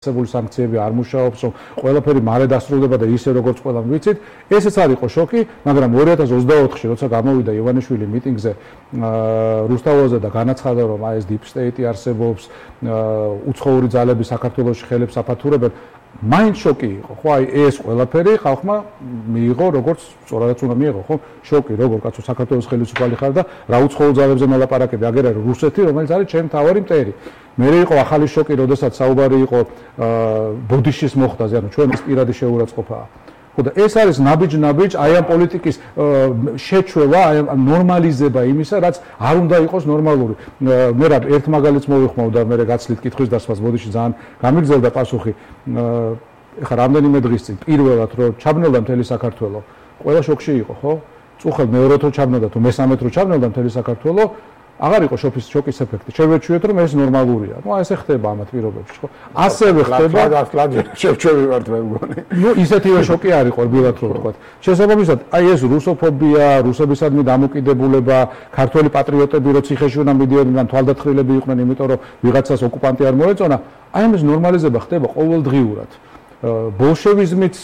სანქციები არ მუშაობს, რომ ყველაფერი მალე დასრულდება და ისე როგორც ყველამ ვიცით, ესეც არ იყო შოკი, მაგრამ 2024-ში როცა გამოვიდა ივანიშვილი მიტინგზე რუსთაველზე და განაცხადა, რომ ეს deep state არსებობს, უცხოური ძალები საქართველოში ხელებს აფათურებენ, მაინც შოკი იყო, ხო, აი ეს ყველაფერი ხალხმა მიიღო, როგორც სწორადაც უნდა მიიღო, ხო? შოკი, როგორ კაცო საქართველოს ხელისუფალი ხარ და რა უცხოურ ძალებზე მოლაპარაკები, აგერ არის რუსეთი, რომელიც არის ჩემი მთავარი მტერი. მე იყო ახალი შოკი, როდესაც საუბარი იყო ბოდიშის მოხდაზე, ანუ ჩვენ ის პირადი შეურაცხყოფაა. ხო და ეს არის ნაბიჯ, აი ამ პოლიტიკის შეჩვევა, აი ამ ნორმალიზება იმისა, რაც არ უნდა იყოს ნორმალური. მე რა ერთ მაგალითს მოვიხმოვ და მე გაცლით კითხვის დასვას ბოდიში ძალიან გამიგზელდა პასუხი. ეხლა რამდენიმე დღის წინ პირველად რომ ჩაბნელდა მთელი საქართველო, ყველა შოკში იყო, ხო? წუხელ მეორედ რო ჩაბნელდა თუ მესამედ რო ჩაბნელდა მთელი საქართველო, აღარ იყო შოკის ეფექტი. შევეჩვიეთ რომ ეს ნორმალურია. ნუ ესე ხდება ამ პირობებში, ხო? ასევე ხდება შევჩევი ვართ მე მგონი. ნუ ისეთივე შოკი არ იყო რბილად რო ვთქვა. შესაბამისად, აი ეს რუსოფობია, რუსებისადმი დამოკიდებულება, ქართველი პატრიოტები რო ციხეში უნდა მიდიოდნენ, თვალდათხრილები იყვნენ, იმიტომ რომ ვიღაცას ოკუპანტი არ მოეწონა, აი ამის ნორმალიზება ხდება ყოველდღიურად. ბოლშევიზმიც,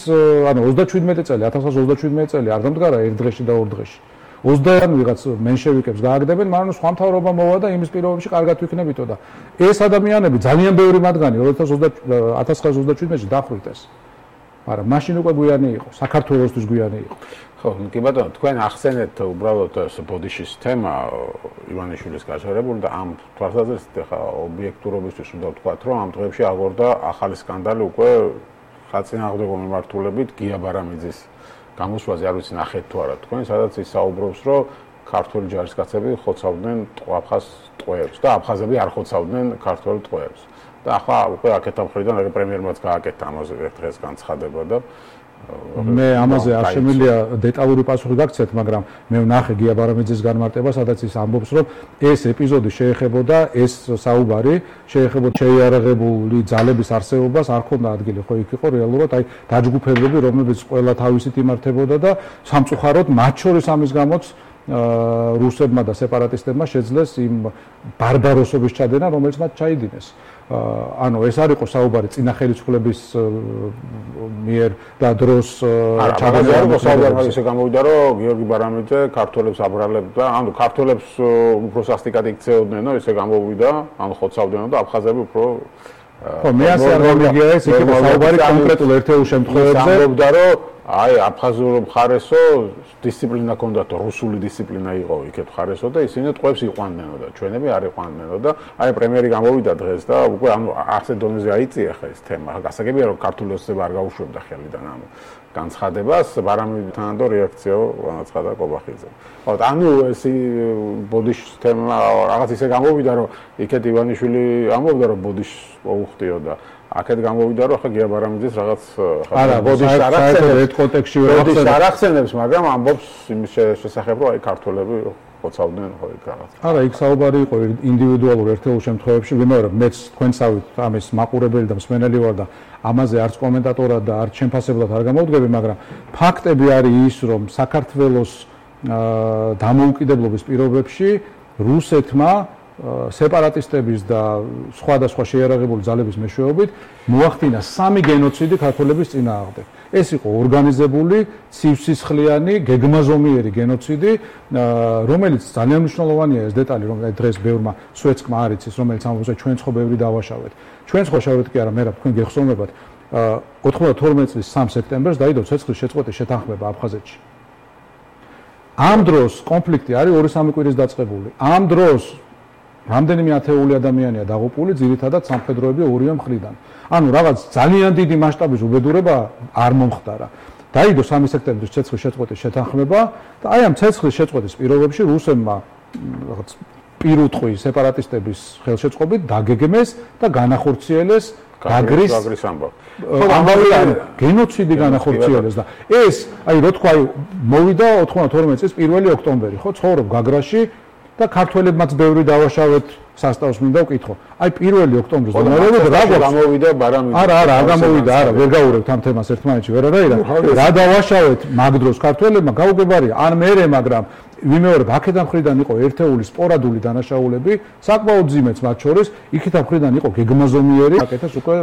ანუ 37 წელი, 1937 წელი არ დამდგარა ერთ დღეში და ორ დღეში. 20-ან ვიღაც მენშევიკებს გააგდებენ, მაგრამ სხვა მთავრობა მოვა და იმის პირობებში კარგად ვიქნებითო და ეს ადამიანები ძალიან ბევრი მათგანი 1927-ში დახრიტეს. მაგრამ მაშინ უკვე გვიანი იყო, საქართველოსთვის გვიანი იყო. ხო, კი ბატონო, თქვენ ახსენეთ უბრალოდ ეს ბოდიშის თემა ივანიშვილის გაჟღერებული და ამ თვალსაზრისით ხა ობიექტურობისთვის უნდა ვთქვათ, რომ ამ დღეებში აღორდა ახალი სკანდალი უკვე ხალხწინააღმდეგო მიმართულებით გია ბარამიძის გამოსვლაზე არ ვიცი ნახეთ თუ არა თქვენ, სადაც ის საუბრობს, რომ ქართული ჯარისკაცები ხოცავდნენ აფხაზ ტყვეებს და აფხაზები არ ხოცავდნენ ქართულ ტყვეებს. და ახლა უკვე აქეთ ამ ხრიდან პრემიერმაც გააკეთა ამაზე ერთ დღეს განცხადება და მე ამაზე არ შემიძლია დეტალური პასუხი გაგცეთ, მაგრამ მე ვნახე გია ბარამიძის განმარტება, სადაც ის ამბობს, რომ ეს ეპიზოდი შეეხებოდა ეს საუბარი, შეეხებოდა შეიარაღებული ძალების არსებობას, არ ქონდა ადგილი, ხო იქ იყო რეალურად აი დაჯგუფებები, რომლებიც ყველა თავისით იმართებოდა და სამწუხაროდ მათ შორის ამის გამოც რუსებმა და სეპარატისტებმა შეძლეს იმ ბარბაროსობის ჩადენა, რომელიც მათ ჩაიდინეს. ანუ ეს არ იყო საუბარი წინა ხელისუფლების მიერ და დროს ჩაგაზარდა საუბარი ისე გამოვიდა რომ გიორგი ბარამიძე ქართველებს აბრალებდა, ანუ ქართველებს უფრო სასტიკად იქცეოდნენ, ისე გამოვიდა, ანუ ხოცავდნენ და აფხაზები უფრო ხო, მე ასე არ გამიგია ეს იქნება საუბარი კონკრეტულ ერთეულ შემთხვევებზე. გამოვიდა რომ აი აფხაზურ მხარესო დისციპლინა ჰქონდათ, რუსული დისციპლინა იყო იქეთ მხარესო და ისინი ტყვეებს იყვანნენო და ჩვენები არ იყვანნენო და აი პრემიერი გამოვიდა დღეს და უკვე ანუ ასე დონეზე აიწია ხა ეს თემა. გასაგებია რომ ქართული ოცნება არ გაუშვებდა ხელიდან ამ განცხადებას, ბარამიძთან და რეაქციო განაცხადა კობახიძემ. ხო, ანუ ეს ბოდიშის თემა რაღაც ისე გამოვიდა რომ იქეთ ივანიშვილი ამბობდა რომ ბოდიშს მოუხდიო და აქეთ გამოვიდა რომ ხა გია ბარამიძის რაღაც არა ბოდიშს არ ახსენებს, მაგრამ ამბობს იმის შესახებ რომ აი ქართველები ხოცავდნენ ხო იქ რაღაც. არა, იქ საუბარი იყო ინდივიდუალურ ერთეულ შემთხვევებში, ვიმეორებ, მეც თქვენსავით ამის მაყურებელი და მსმენელი ვარ და ამაზე არც კომენტატორად და არც შემფასებლად არ გამოვდგები, მაგრამ ფაქტები არის ის, რომ საქართველოს დამოუკიდებლობის პირობებში რუსეთმა სეპარატისტების და სხვადასხვა შეიარაღებული ძალების მეშვეობით მოახდინა 3 გენოციდი ქართველების წინააღმდეგ. ეს იყო ორგანიზებული, ცივსისხლიანი, გეგმაზომიერი გენოციდი, რომელიც ძალიან მნიშვნელოვანია ეს დეტალი, რომ დღეს ბევრმა სვეცკმა არ იცის, რომელიც ამბობს, ჩვენ ხო ბევრი დავაშავეთ. ჩვენ ხო შავეთ კი არა, მე რა თქვენ გეხსოვებათ, 92 წლის 3 სექტემბერს დაიდო ცეცხლის შეწყვეტის შეთანხმება აფხაზეთში. ამ დროს კონფლიქტი არის 2-3 კვირის დაწყებული. ამ დროს რამდენიმე ათეული ადამიანია დაღუპული, ძირითადად სამხედროები ორივე მხრიდან. ანუ რაღაც ძალიან დიდი მასშტაბის უბედურება არ მომხდარა. დაიდო 3 სექტემბრის ცეცხლის შეწყვეტის შეთანხმება და აი ამ ცეცხლის შეწყვეტის პირობებში რუსებმა რაღაც პირუტყვი სეპარატისტების ხელშეწყობით დაგეგმეს და განახორციელეს გაგრის ამბავი. ამბავი გენოციდი განახორციელეს და ეს აი რო თქვა მოვიდა 92 წლის 1 ოქტომბერი, ხო, ცხოვრობ გაგრაში და ქართველებმაც ბევრი დავაშავეთ სასტავს მინდა ვკითხო. აი 1 ოქტომბრის დონეზე რა გამოვიდა ბარამიძე. არა, არ გამოვიდა, არა, ვერ გავურევთ ამ თემას ერთმანეთში, ვერანაირად. რა დავაშავეთ მაგ დროს ქართველებმა გაუგებარია, ან მერე, მაგრამ ვიმეორებ, აქედან მხრიდან იყო ერთეული სპორადული დანაშაულები, საკმაოდ ძიმეც მათ შორის, იქიდან მხრიდან იყო გეგმაზომიერი, აკეთეს უკვე